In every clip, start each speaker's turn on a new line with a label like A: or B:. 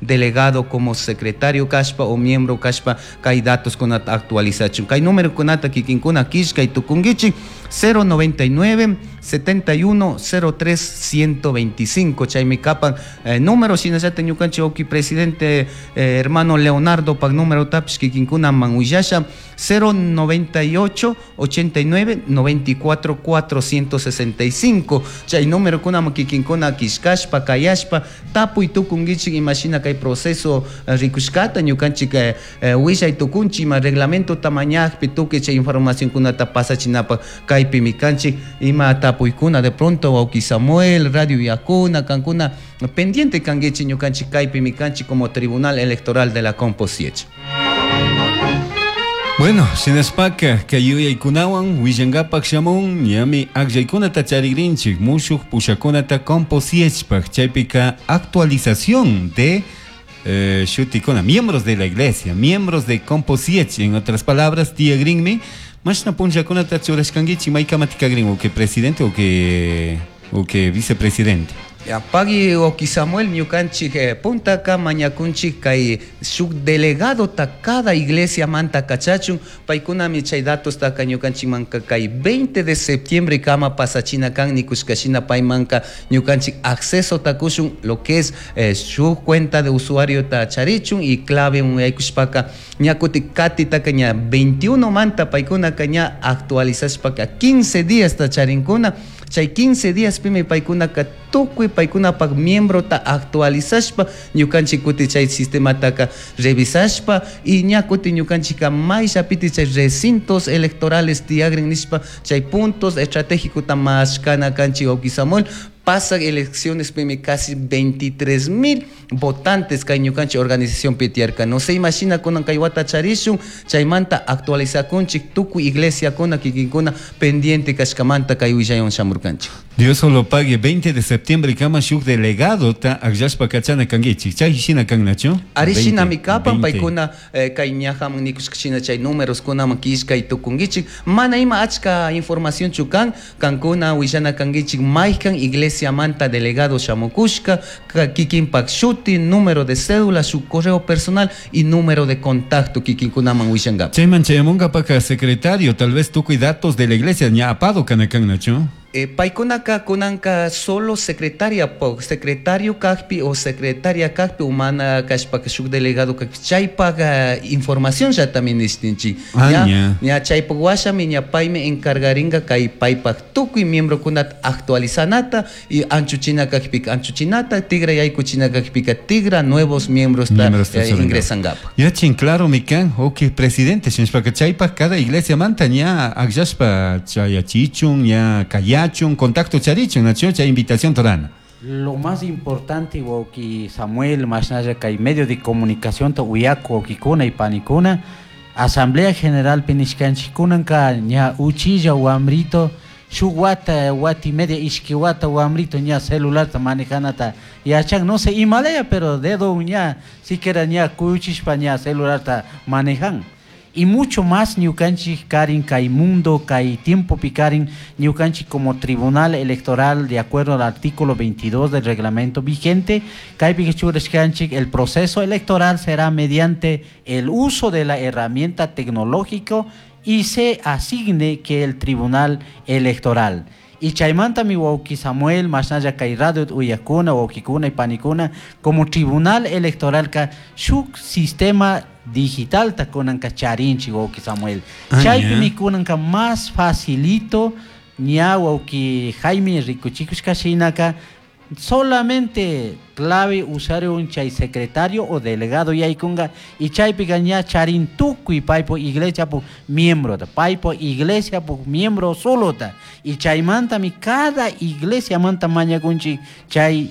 A: Delegado como secretario kashpa o miembro kashpa kay datoskunata actualizachun. Kay numerokunata kikinkuna killkay tukunkichik 099 71 03 125 chaymi kapan número. Shinallata ñukanchik wawki presidente hermano Leonardo pak numerotapish kikinkunaman willasha 098 89 94 465. Chay numerokunaman kikinkuna killkashpa kayashpa tapuy tukunkichik imashina kay proceso rikushkata ñukanchik willay tukunchik ima reglamentota mañakpi tukuy chay informacionkunata pasachinapak kaypimi kanchik. Ima tapuykuna de pronto wawki Samuel, radio yakuna kankuna pendiente kankichik, ñukanchik kaypimi kanchik como Tribunal Electoral de la Composiech.
B: Bueno, shinashpaka kay yuyaykunawan willankapak shamun ñami akllaykunata charigrinchik mushuk pushakunata Composiechpak, chaypika actualización de shutikuna, miembros de la iglesia, miembros de Composiech, en otras palabras, tiyagrinmi. Mashna punllakunata churashkankichik, maykamatikarin o que presidente o que vicepresidente?
A: Ya, pagui wawki Samuel, ñukanchik puntaka mañakunchik kay shuk delegadota cada iglesia manta kachachun. Paykunami chay datostaka ñukanchikmanka kay 20 de septiembre kama pasachina kan nikushkashina paymanka ñukanchik accesota kushun lo que es shuk cuenta de usuario ta charichun y clave yaykushpaka ña kuti katitaka ña 21 manta paykunaka ña actualizashpaka 15 días ta charinkuna. Chay 15 días pimi paykunaka tukuy paykunapak miembrota actualizashpa ñukanchik kuti chay sistemataka revisashpa y ña kuti ñukanchika mayllapiti chay recintos electorales tiyagrin nishpa chay puntos estratégicota mashkana kanchik, wawki Samuel. Pasak elecciones pimi casi 23 mil votantes kay ñukanchik organización tiyarka. No se imagina kunan kay wata charishun. Chaymanta actualizakunchik tukuy iglesiakuna kikinkuna pendiente kashkamanta kay willaywan shamurkanchik.
B: Dios solo pague. 20 de septiembre kama shuk delegado ta akllashpa kachana kankichik, chay shina kan, nachu?
A: Ari, shinami kapan. Paykuna kay ñajaman nikushka chay números kunaman killkay tukunkichik. Mana ima achka información kan, kankuna willana kankichik maykan iglesiamanta delegado shamukushka, kikinpak shuti, número de cédula, su correo personal y número de contacto kikinkunaman willankapa.
B: Chayman chayamunkapaka secretario tal vez tukuy datos de la iglesia ña apado kana kan, nachu?
A: Paykunaka kunanka solo secretaria po, secretario kakpi o secretaria kakpi umana kashpaka shuk delegado kakpi chaypak información llatami nishtinchik.
B: Ah,
A: ña,
B: ña.
A: Ña chaypak washami ña paymi encargaringa kay paypak tukuy miembrokunata actualizanata y anchuchina kakpika anchuchinata, tigra yaykuchina kakpika tigra nuevos miembros ta
B: Miembros ta churanka.
A: Ingresankapa.
B: Yachin claro mi kan, ok, presidente, shinashpaka chaypak cada iglesia manta ña akllashpa chayachichun, ña kayachun, contacto charichun, nachu, chay invitación torana.
C: Lo más importante, wawki Samuel, mashnalla kay medio de comunicación ta uyaku wawkikuna y panikuna, Asamblea General pinishkanchik kunanka ña uchilla wamrito, shuk wata, wata y media, ishki wata wamrito ña celularta manejanata yachan, no sé imalaya, pero dedo ña, siquiera ña kuyuchishpa ña celularta manejan. Y mucho más ñukanchik karin kay mundo, kay tiempo picarin, ñukanchik como tribunal electoral, de acuerdo al artículo 22 del reglamento vigente, kaypi churashkanchik, el proceso electoral será mediante el uso de la herramienta tecnológica y se asigne que el tribunal electoral. Y chaymanta mi wawki Samuel, mashnalla kay radio uyakuna, wawkikuna y panikuna, como tribunal electoral ka shuk sistema digital ta kunanka charinchik, wawki Samuel.
B: Ah,
C: Chaypimi
B: ña.
C: kunanka más facilito ña wawki Jaime rikuchikushka shinaka solamente clave usuario un chay secretario o delegado yaykunga y chaypika ña charin tukuy paypo iglesia pu miembro ta paypo iglesia pu miembro solo ta y chaymantami cada iglesia manta mañakunchik chay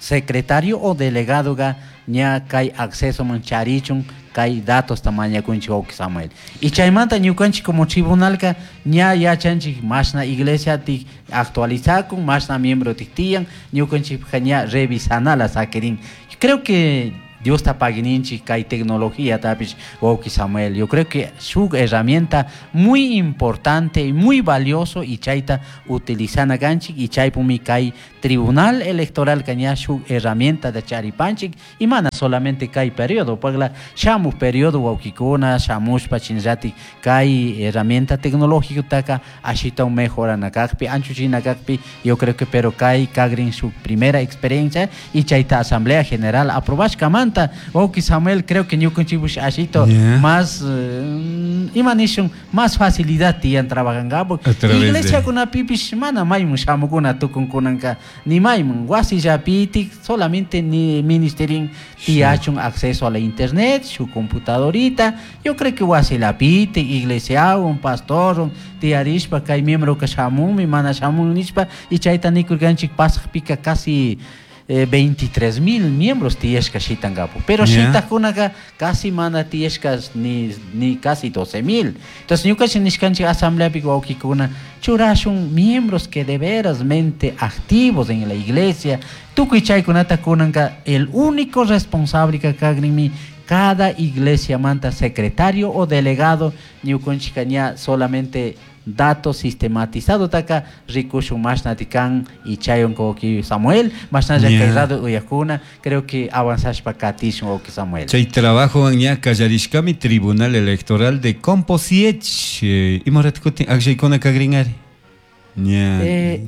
C: secretario o delegado ga ña kay acceso man charichun kay datos ta mañakunchik, wawki Samuel. Y chaymanta ñukanchik como tribunal ka ña yachanchik mashna iglesia tik actualizakun, mashna miembro tik tiyan, ñukanchik ña revisanala sakirin. Creo que Diosta paguininchik kay tecnología tapish wawki Samuel. Yo creo que shuk herramienta muy importante y muy valioso y chayta utilizana kanchik y chaypumi kay Tribunal Electoral ña shuk herramienta de charipanchik y mana solamente kay periodo pagla shamuj periodo wawkikuna shamushpa chinallatik kay herramienta tecnológica taka ashita mejorana kakpi anchuchina kakpi. Yo creo que pero kay kagrin su primera experiencia y chayta Asamblea General aprobashkamanta wawki Samuel, creo que ñukanchikpish ashito más ima nishun más facilidad tiyan trabajankapak. Iglesiakunapipish mana maymun shamukuna tukunkunanka ni maymun wasillapitik solamente ni ministerin tiyachun acceso a la internet, su computadorita. Yo creo que wasillapitik iglesiawan pastorwan tiyarishpa kay miembro ka shamunmi mana shamun nishpa y chayta nikurkanchik pasaqpika casi 23,000 miembros tiyashka shitankapu, pero shitakunaka casi mana tiyashka ni casi 12,000. Entonces ñukanchik nishkanchik asambleapi wawkikuna churashun miembros que de veras mente activos en la iglesia tukuy chaykunata kunanka el único responsable ka kagrinmi cada iglesia manta secretario o delegado ñukanchika ña solamente datos sistematizado taka rikushun mashnati kan y chayon wawki Samuel mashnalla kay radio uyakuna creo que avanzashpa katishun wawki Samuel.
B: Chay trabajo ña kallarishkami Tribunal Electoral de Composiech. Ima ratukutin akllaykuna kagrinari?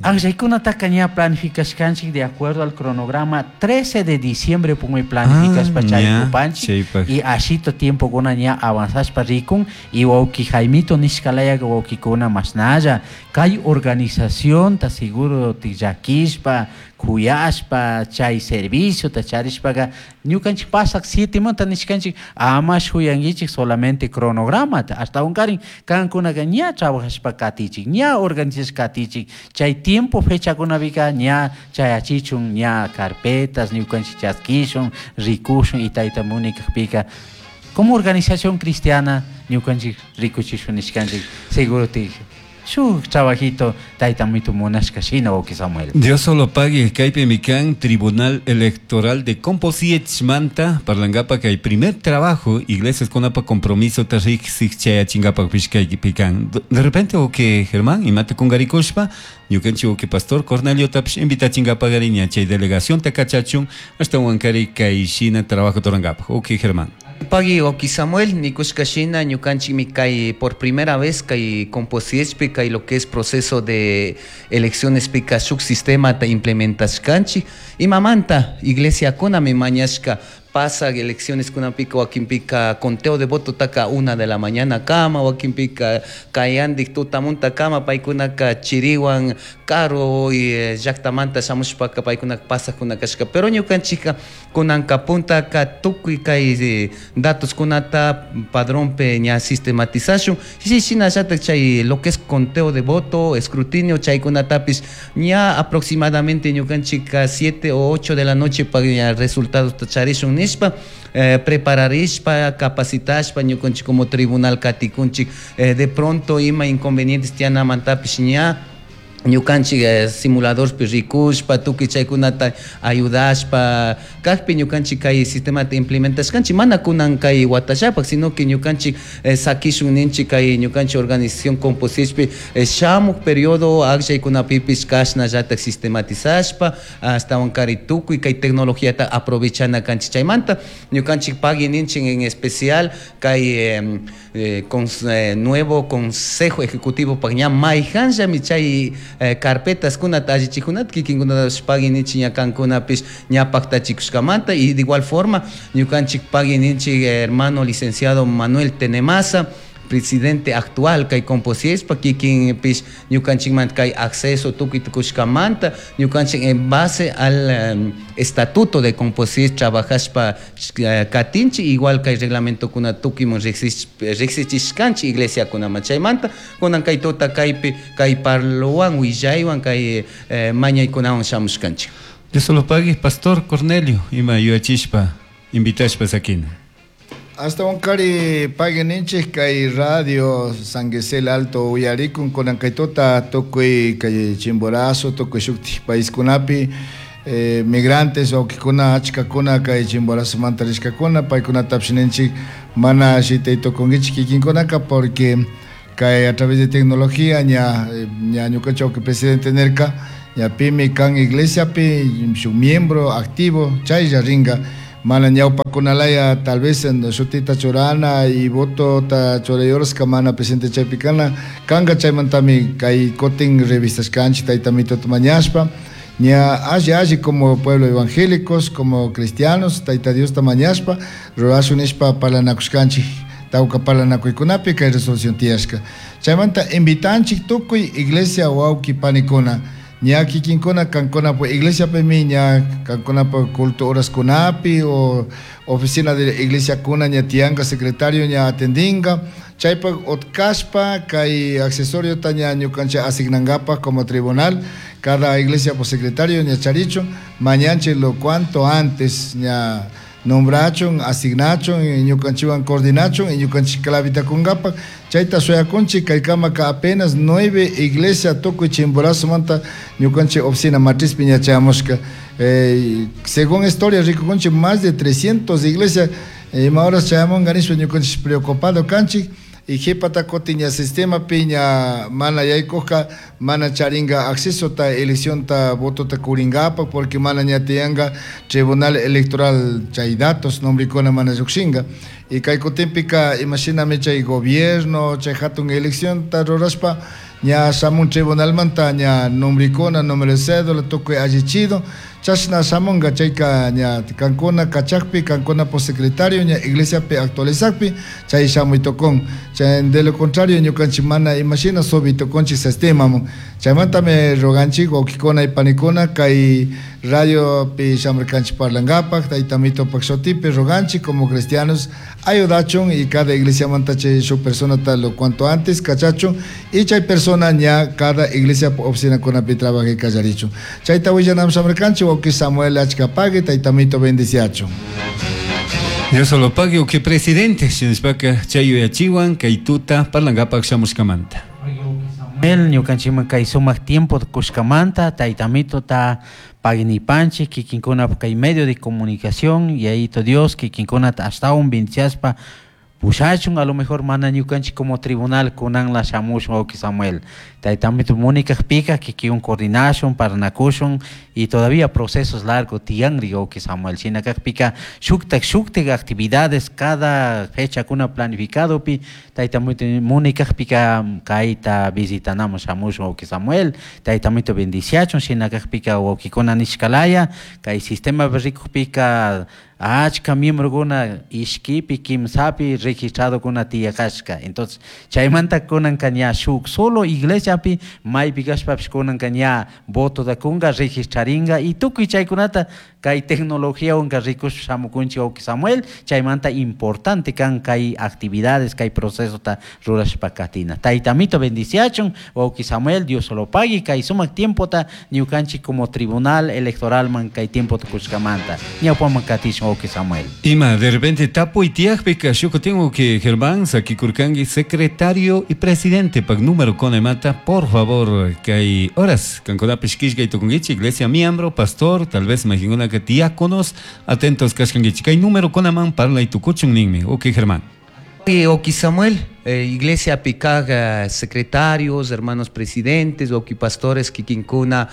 C: Aklllaykunataka ña planificashkanchik de acuerdo al cronograma 13 de diciembre pumi planificashpa chaykupanchik y ashito tiempo kuna ña avanzashpa rikun y wawki Jaimito nishkalayaka wawkikuna mashnalla kay organización ta seguro tillakishpa kuyashpa chay servicio ta charishpaka ñukanchik pasak 7 manta nishkanchik ama shuyankichik solamente cronogramata ashtawankarin kankunaka ña trabajashpa katichik ña organizashpa katichik chay tiempo fechakunapika ña chayachichun ña carpetas ñukanchik chaskishun rikushun y tayta munikakpika como organización cristiana ñukanchik rikuchishun nishkanchik seguro te shuk trabajito tayta mitu munashka shina wawki Samuel.
B: Dios solo pague kaypi mikan Tribunal Electoral de Composiech manta parlankapa kay primer trabajo iglesias kunapa compromiso ta riksik chayachinkapak pikan. De repente wawki Germán imata kungarikushpa ñukanchik wawki pastor Cornelio tapish invitachinkapagari ña chay delegación ta kachachun ashtawankari kay shina trabajo turankapak. Wawki Germán.
A: Pagui wawki Samuel nikushka shina ñukanchikmi kay por primera vez kay Composiechpi kay lo que es proceso de elecciones pika shuk sistema ta implementashkanchik imamanta iglesiakunami mañashka pasa elecciones kunapika wakinpika conteo de voto taka 1 de la mañana kama wakinpika kayandik tutamunta kama paykunaka chiriwan karu y llaktamanta shamushpaka paykunaka pasakuna kashka pero ñukanchika kunanka puntaka tukuy kay datos kunata padronpe ña sistematizashun shinallatak chay lo que es conteo de voto escrutinio chaykunatapis ña aproximadamente ñukanchika 7 o 8 de la noche pa ña resultados charishun nishpa prepararishpa capacitashpa ñukanchik como tribunal katikunchik de pronto ima inconvenientes tiyanamantapis ña ñukanchik simuladorpi rikushpa tukuy chaykunata ayudashpa kakpi ñukanchik kay sistemata implementashkanchik mana kunan kay watallapak sino que ñukanchik sakishun ninchik kay ñukanchik organización Composiechpi shamuk periodo akllaykunapipis kashnallatak sistematizashpa ashtawankari tukuy kay tecnologiata aprovechana kanchik chaymanta ñukanchik pagui ninchik en especial kay nuevo consejo ejecutivo pak ña mayhanllami chay carpetas kunata allichikunata kikinkunatapish pagui ninchik ña kankunapish ña paktachikushkamanta y de igual forma ñukanchik pagui ninchik hermano licenciado Manuel Tenemaza presidente actual kay Composiechpa kikinpish ñukanchikmanta kay acceso tukuy tukushkamanta ñukanchik en base al estatuto de Composiech trabajashpa katinchik igual kay reglamentokuna tukuyman riksichishkanchik iglesiakunaman chaymanta kunan kay tuta kaypi kay parlowan willaywan kay mañaykunawan shamushkanchik.
B: Dios lo pague, pastor Cornelio, ima yuyachishpa invitashpa sakina.
D: Ashtawankari pagui ninchik kay radio San Gisel Alto uyarikun kunan kay tuta tukuy kay Chimborazo tukuy shuktik paiskunapi Migrantes wawkikuna achkakuna kay Chimborazomanta rishkakuna, paykunatapish ninchik mana shitay tukunkichik kikinkunaka porque kay a través de tecnología ña ña ñukanchik wawki presidente nirka ña pimi kan iglesiapi shuk miembro activo chaylla rinka mana ñawpakunalaya tal vez shutita churana y votota churayorska mana presidente chaypi kana kanka. Chaymantami kay kutin revistashkanchik tayta mituta mañashpa ña alli alli como pueblo evangélicos, como cristianos, tayta Diosta mañashpa rurashun nishpa parlanakushkanchik tawka parlanakuykunapi kay resolución tiyashka. Chaymanta invitanchik tukuy iglesia wawki panikuna ña kikinkuna kankunapak iglesiapimi ña kankunapak culto horaskunapi o oficina de iglesiakuna ña tiyanka secretario ña atendinka chaypak utkashpa kay accesoriota ña ñukanchik asignankapak como tribunal cada iglesia por secretario ña charichun mañanchik lo cuanto antes ña nombrachun, asignachun, ñukanchikwan coordinachun y ñukanchik clavita kunkapak chayta shuyakunchik. Kaykamaka apenas 9 iglesia tukuy Chimborazomanta ñukanchik oficina matrizpi ña chayamushka. Según historia rikukunchik más de 300 iglesia ima horas chayamunka nishpa ñukanchik preocupado kanchik y qhipata kutin ña sistemapi ña mana yaykujka mana charinka accesota eleccionta votota kurinkapak porque mana ña tiyanka tribunal electoral chay datos nombrekuna mana llukshinka. Y kay kutinpika imashinami chay gobierno chay hatun eleccionta rurashpa ña shamun tribunalmanta ña nombrekuna, número de cédula tukuy allichido chashna shamunka. Chayka ña kankuna kachakpi kankuna por secretario ña iglesiapi actualizakpi chay shamuy tukun. Chay de lo contrario ñukanchik mana imashina subi tukunchik sistemaman. Chaymantami roganchik wawkikuna y panikuna kay radiopi shamurkanchik parlankapak tayta mitupak shutipi roganchik como cristianos ayudachun y cada iglesiamanta chay shuk personata lo cuanto antes kachachun y chay persona ña cada iglesia oficinakunapi trabajay kallarichun. Chayta willanam shamurkanchik wawki Samuel achka pagui, tayta mito bendiciachun.
B: Dios solo pague wawki presidente, shinashpaka chay yuyachiwan kay tuta parlankapak shamushkamanta.
C: Samuel ñukanchikman kay sumak tiempo kushkamanta tayta mitota pagnipanchik kikinkuna kay medio de comunicación y ayito Dios kikinkunata ashtawan bendiciaspa pushachun. A lo mejor mana ñukanchik como tribunal kunanla shamushun wawki Samuel, tayta mito munikakpika kikin coordinashun parnakushun y todavía procesos largos tiyanri wawki Samuel. Shina kakpika shuktak shuktak actividades cada fecha kuna planificadopi tayta mito munikakpika kayta visitanamun shamushun wawki Samuel, tayta mito bendiciachun. Shina kakpika wawkikuna nishkalaya kay sistema rikukpika achka miembrokuna ishkipi kimsapi registradokuna tiyakashka. Entonces chaymanta kunanka ña shuk solo iglesiapi maypi kashpapish kunanka ña votota kunka registrarinka y tukuy chaykunata kay tecnologiawanka rikushpa shamukunchik wawki Samuel. Chaymanta importante kan kay actividades kay procesota rurashpa katina. Tayta mito bendiciachun wawki Samuel, Dios lo pague kay sumak tiempota ñukanchik como tribunal electoralman kay tiempota kushkamanta. Ñawpaman katishun wawki Samuel.
B: Ima de repente tapuy tiyakpika shukutin wawki Germán sakikurkanki secretario y presidente pak número konemata por favor kay horas kankunapish killkay tukunkichik iglesia miembro pastor tal vez mayqinkunaka diáconos atentos kashkankichik kay número kunaman parlay tukuchun ninmi wawki Germán.
A: Wawki Samuel, iglesia pikaj, secretarios, hermanos presidentes, wawki pastores kikinkuna,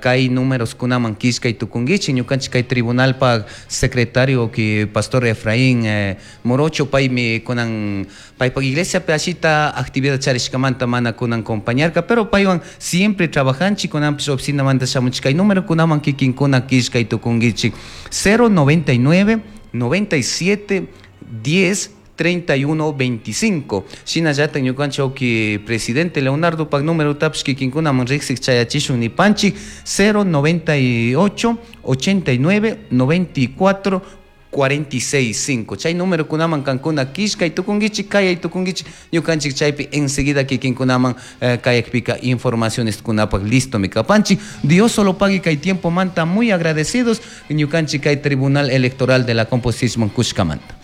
A: kay números kunaman killkay tukunkichik ñukanchik kay tribunalpak secretario wawki pastor Efraín Morocho paymi kunan paypak iglesiapi ashita actividad charishkamanta mana kunan compañarka, pero paywan siempre trabajanchik kunanpish oficinamanta shamunchik kay número kunaman kikinkuna killkay tukunkichik 099 97 10 31 25. Shinallata ñukanchik wawki presidente Leonardo pak número tapish kikinkunaman riksik chayachishun nipanchik 098 89 94 46 5. Chay número kunaman kankuna killkay tukunkichik kayay tukunkichik ñukanchik chaypi enseguida kikinkunaman kayakpika informaciones kunapak listo mi kapanchik. Dios solo pague kay tiempo manta muy agradecidos ñukanchik kay Tribunal Electoral de la Composición kushkamanta.